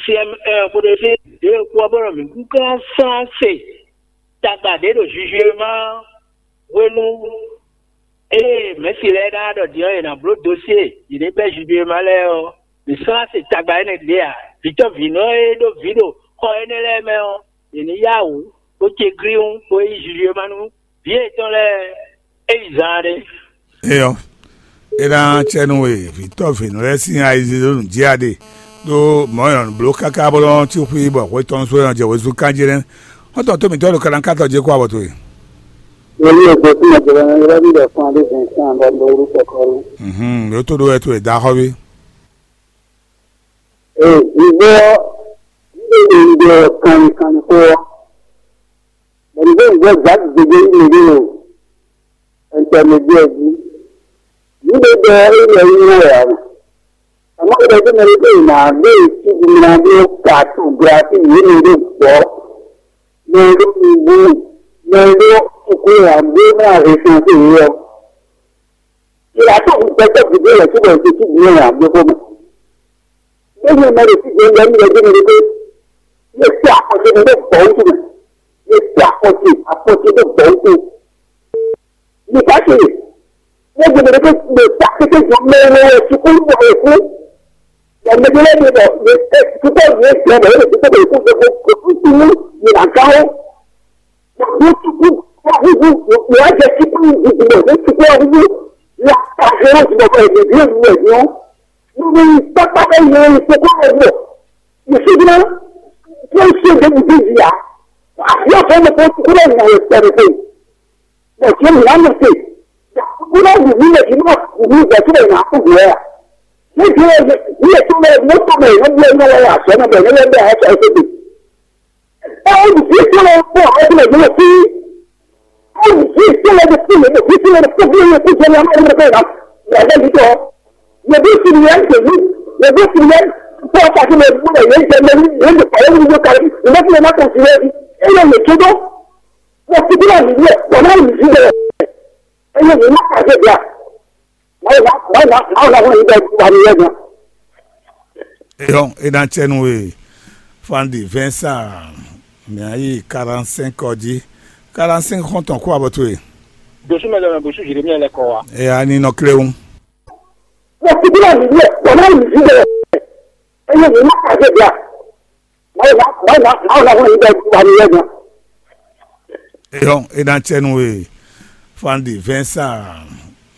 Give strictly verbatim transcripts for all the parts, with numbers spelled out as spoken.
C M un kpódó C M deux kpó ɔ́, bó nɔ mǐ kúnkan slán se tagba ɖě ɖo Jujuema hwenu e mɛ̌si lɛ́ɛ ná ɖɔ din ɔ́, yě ná bló dosyé yě ɖě bɛ́ Jujuema lɛ́ɛ ɔ́, mǐ slán se tagba énɛ́ ɖě ǎ. Vǐtɔ́ vǐnɔ e ɖó vǐ ɖo xɔ énɛ́ lɛ́ɛ mɛ ɔ́, yě ní yá wǔ bó ce glíwún bó yi Jujuema nú vǐ yětɔn lɛ́ɛ é yi zaan ɖé. Eyɔ, é ná cɛ nú we vǐtɔ́ vǐnɔ lɛ́ɛ sín ayizizó nǔ jí a ɖe ɖó mɔ̌ e nɔ bló káká bó nɔ́ cí xwí bɔ hwe tɔn sú e nɔ jɛ wezun kán jí nɛ́. Xɔ́ntɔn tó mǐtɔn ɖo kalánkátɔ jí kó abɔ towe. Èyí ò gbé fún ọ̀jọ̀gbọ́n ní rẹ́bí rẹ̀ fún adé Vincent Abọ́dúnrún kọ̀kọ́rú. Mhm, yóò tó ɖó wɛ towe dá xɔ́ví. Ee, ìgbó ɔ́, nílé ìgbó ɔ́ kanni kanni xó ɔ́, bɛ̀ni bó ń gbọ́ gbǎ gbegbé ní mèɖé o, ɛntɛmɛdíɛ jí. Nílé bɛ é lɛ yí wɛ ǎ mɛ. Àmọ́ ìgbà tí mo rí pé ìmọ̀ àgbé ìtújú mi ná bí ó ka tó gba sí ìwé mi ló gbọ́, mi ló mi wú, mi ló kúkú àgbé náà rè fún sí ìwé ɔ́. Ìlà tó ń gbẹ́sẹ̀ gbígbé rẹ̀ síbẹ̀ ṣe sí ìdílé rẹ̀ àgbé fún mi. Bẹ́ẹ̀ni ọmọ rẹ̀ sì jẹ́ ńlá nílẹ̀ bí mi rí pé yóò ṣe àkọsí mi ló gbọ́ ó túmọ̀. Yóò ṣe àkọsí, àkọsí ló gbọ́ ó tó. Nìkan sì, wọ́n gbọ́dọ̀ pé mo ta kété jọ mẹ́rin ẹ̀ sukúlù bọ̀ ẹ̀kú. Ẹ̀mí ló dé bọ̀, púpọ̀ ní ẹ̀sìn ọ̀bọ̀ yóò dé bọ̀ ẹ̀kú gbogbo kò tún sí ní ìlànà ó. Wọ́n tún kú, wọ́n kú kú, wọ́n á jẹ kíkú ìdìbò ní kíkú ọ̀hún. Wọ́n á ṣe wọ́n ti bọ̀ ẹ̀mí bí èmi ẹ̀mí ó. Nínú pápá bẹ́ẹ̀ ni ìkókó rẹ̀ wọ̀. Ìṣèjìnà tí ó ń ṣe ìdẹ́kùn bí ìyá. Àbí ọ̀fẹ́ mi kò kúrò ìyàwó ìpẹ̀rẹ̀ pé. Bọ̀ tí ó mú lánàá pé. Kúrò wù mí lè fi máa wù mí ìgbà tí mo yàn á kú wù ẹ́ à. Níbi ẹ̀ ní ètò rẹ̀ mọ́tò rẹ̀ ló gbé iná lọ́wọ́ àṣẹ náà bẹ̀rẹ̀ lọ́wọ́ bẹ́ẹ̀ àṣẹ ìṣèjì. Olùdíje lọ pọ̀ ọdún ẹ̀gbọ́n sí. Olùdíje lọ sí ilé ìdíje lọ sí ilé ìdíje lọ sí ilé ìdíje lọ sí ilé ìdíje lọ. Yẹ̀dẹ́ yìí tọ́. Yẹ̀dẹ́ sì ni ẹ̀ ń tẹ̀lé. Yẹ̀dẹ́ sì ni ẹ̀ ń tọ́ ọkọ̀ àti ilé ìdíje lọ yẹn jẹ lẹ́yìn. Yẹn lè pàdé ní ìdíje kárí. Ìdíje lọ má kàn sí ilé ìdíje. Ilé ìdíje tó dọ́. Wọ́n ti bí wà nínú ẹ̀. Wọ́n máa ń yí sílẹ̀. Ẹ̀yẹ́ mi má kà dé bíà. Wọ́n yà wọ́n yà wọ́n yà wọ́n yà wọ́n yà wọ́n yà. Eyɔn, e na cɛ nu e Fandi Vincent, mɛ ayi quarante-cinq ɔ́ jí. Quarante-cinq xɔntɔn kó abɔ towe. Dosu mɛ lɛ mɛ bosu Jeremia lɛ kɔ wa. Eya ni nɔ kléwún. Wọ́n ti bí wà nínú ẹ̀. Wọ́n máa ń yí sílẹ̀. Ẹ̀yẹ́ mi má kà dé bíà. Wọ́n yà wọ́n yà wọ́n yà wọ́n yà wọ́n yà. Eyɔn, e na cɛ nu e Fandi Vincent,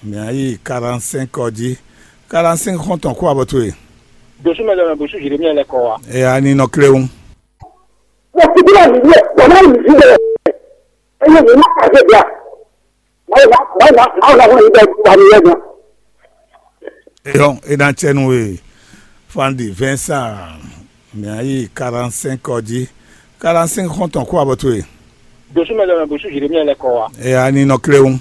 mɛ ayi quarante-cinq ɔ́ jí. Quarante-cinq xɔntɔn kó abɔ towe. Dosu mɛ lɛ mɛ bosu Jeremia lɛ kɔ wa. Eya ni nɔ kléwún. Wọ́n ti bí wà nínú ẹ̀. Wọ́n máa ń yí sílẹ̀. Ẹ̀yẹ́ mi má kà dé bíà. Wọ́n yà wọ́n yà wọ́n yà wọ́n yà wọ́n yà. Eyɔn, e na cɛ nu e Fandi Vincent, mɛ ayi quarante-cinq ɔ́ jí. Quarante-cinq xɔntɔn kó abɔ towe. Dosu mɛ lɛ mɛ bosu Jeremia lɛ kɔ wa. Eya ni nɔ kléwún.